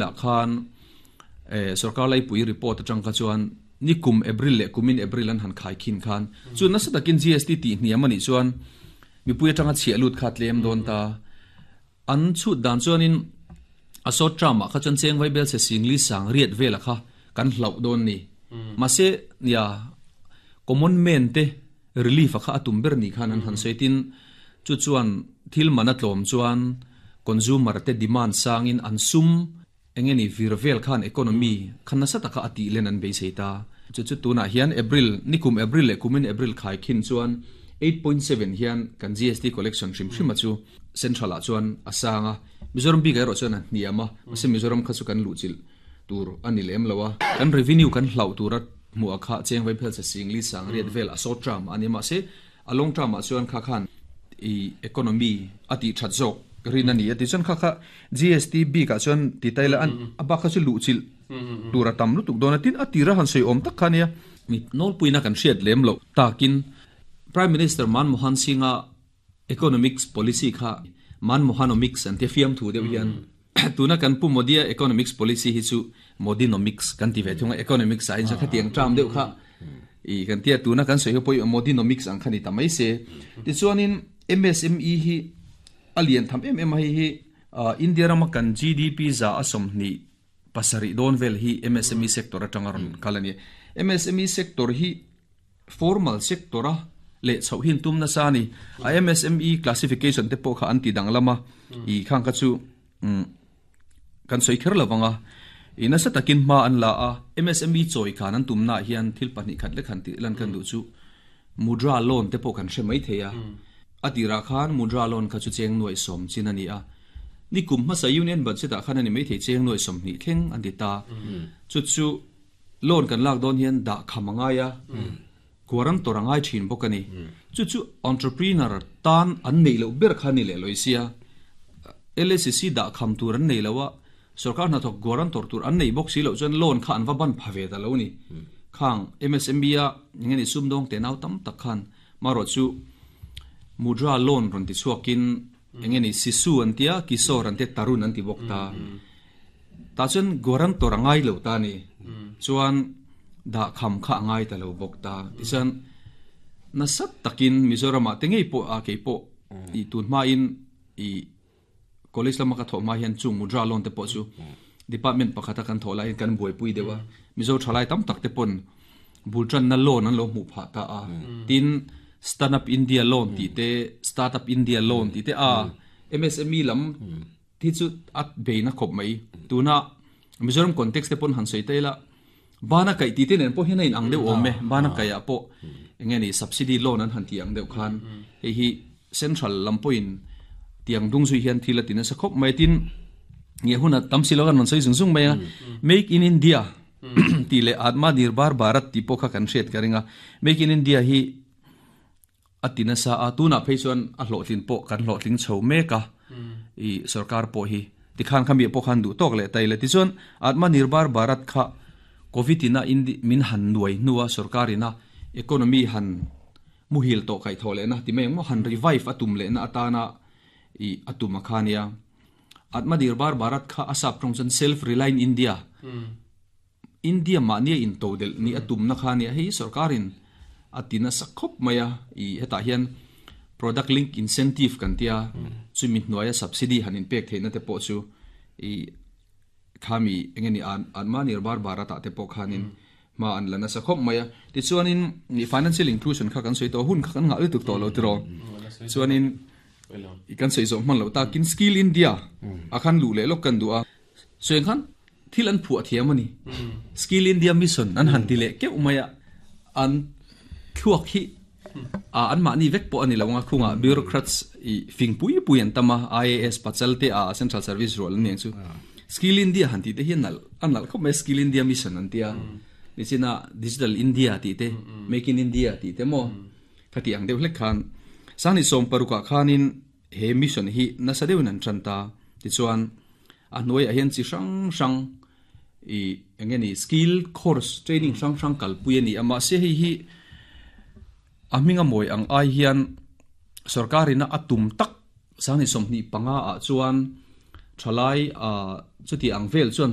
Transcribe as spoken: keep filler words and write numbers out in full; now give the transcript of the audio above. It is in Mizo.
La khan eh sarkar lai pui report atang kha chuan ni kum April le kumin April an han khai khin khan chu na sa takin G S T ti hniam ani chuan mi pui atanga chhia lut kha tlem don ta. An chu dan chuan in a short term kha chuan cheng vai bel se singli sang riat vela kha kan hlau don ni. Ma se ya common man te relief kha atum ber ni khan an han seitin chu chuan thil mana tlom chuan consumer te demand sangin an sum engeni virvel khan economy khan na sa taka ati len an be seita. Chu chu tuna hian April, nikum April le kumin April khai khin chuan eight point seven hian kan G S T collection hrim hrim chu central a chuan asanga. Mizoram bi ga ro chuan hniama se Mizoram kha chu kan lu chil tur ani lem lowa. Kan revenue kan hlau tura mu akha cheng vai phel se singli sang riat vel a short term ani. Ma se a long term a chuan kha khan i economy ati that zok rin ani ati chuan kha kha G S T B ka chuan ti taila an aba kha chu lu chil tura tam lu tuk dona tin atira han sei om tak khania mi nol puina kan hriat lem lo takin. Prime Minister Manmohan Singh economics policy kha Manmohanomics an te fiam thu deuh hian. Tuna kan pu Modia economics policy hi chu Modinomics kan ti ve thunga. Economics science kha tiang tram deuh kha i kan tia tuna kan soi poi Modinomics ang khani tamai se. Ti chuanin M S M E hi alian tham em em hi hi India rama kan G D P za asom ni pasari don vel hi M S M E sector atanga ron kalani. M S M E sector hi formal sector a le chho hin tum na sa ni a. M S M E classification te po kha anti dang lama i khang ka chu kan soi kher lawanga ina sa takin ma an la a. M S M E choi khan an tum na hian thil pahnih khat le khan ti lan kan du chu Mudra loan te po kan hre mai theia. Atira khan Mudra loan kha chu cheng nuai som chin ani a. Ni kum ma sa union budget a khan ani mai thei cheng nuai som ni thleng an ti ta. Chu chu loan kan lak don hian da khamanga ya guaran torangai thin bokani. Chu chu entrepreneur tan an nei lo ber khan ni le loisia. L S C da kham tur an nei lawa, sarkar na thok guaran tor tur an nei bok si lo chuan loan kha an va ban phave da lo ni khang M S M E a ngeni sumdong te nau tam tak khan maro chu Mudra loan ron ti chuakin engeni Sisu an tia, Kishor an te, Tarun an ti bok ta. Ta chuan guaran torangai lo ta ni chuan da kham kha angai ta lo bok ta. Ti chuan na sat takin Mizoram a te ngei po a ke po i tun ma in i college lama ka tho ma hian chung Mudra loan te po chu department pakhata kan thola in kan buai pui dewa. Mizo thalai tam tak te pon bultran na loan an lo mu pha ta a. Tin Stand Up India loan ti te, Startup India loan ti te a, M S M E lam thi chu at beina khop mai. Tuna Mizoram context te pon han sei te la bana kai ti te nen po hian in ang deuh om me. Bana kai a po engeni subsidy loan an han ti ang deuh khan hei hi central lampoin tiang dung zui hian thila tin sa khop mai. Tin nge huna tam silogan non sei zung zung mai a. Make in India ti le Atma Nirbhar Bharat ti po kha kan hriat ka ringa. Make in India hi atina sa a. Tuna phei chuan a hlawhtlin po kan hlawhtling chho meka i sarkar po hi ti khan khami po khan du tok le tai le. Ti chuan Atma Nirbhar Bharat kha Covid ina indi min han nuai nuwa sarkarina economy han muhil to kai thole na ti meng mo han revive atum le na atana i atuma khania. Atma Nirbhar Bharat kha asap tong chan self reliant India, India ma nia in to del ni atum na khania. Hei sarkarin atina sakhop maya i heta hian product link incentive kan tia chumi hnuaia subsidy hanin pek theina te po chu i khami engeni an Atma Nirbhar Bharat te po khanin ma an lana sakhop maya. Ti chuanin ni financial inclusion kha kan soi to hun kha kan nga tuk to lo tro chuanin i kan sei zo man lo ta kin Skill India akhan lu le lok kan du a so khan thil an phu thiam ani. Skill India Mission an han ti le ke umaya an thuak hi a an ma ni vek po ani lawnga khunga bureaucrats i fing pui pui an tama I A S pachal te a central service role ni chu. Skill India han ti te hian nal an nal khop mai. Skill India Mission an tia ni china Digital India ti te, Make in India ti te mo khati ang deuh hlek khan sani som paruka khanin he mission hi na sa deuh nan tran ta. Ti chuan a hnuai a hian chi hrang hrang i engeni skill course training hrang hrang kal pui ani ama se. Hei hi a hminga mawi ang ai hian sarkarina atum tak sani somni panga a chuan thalai a. Chuti ang vel chuan.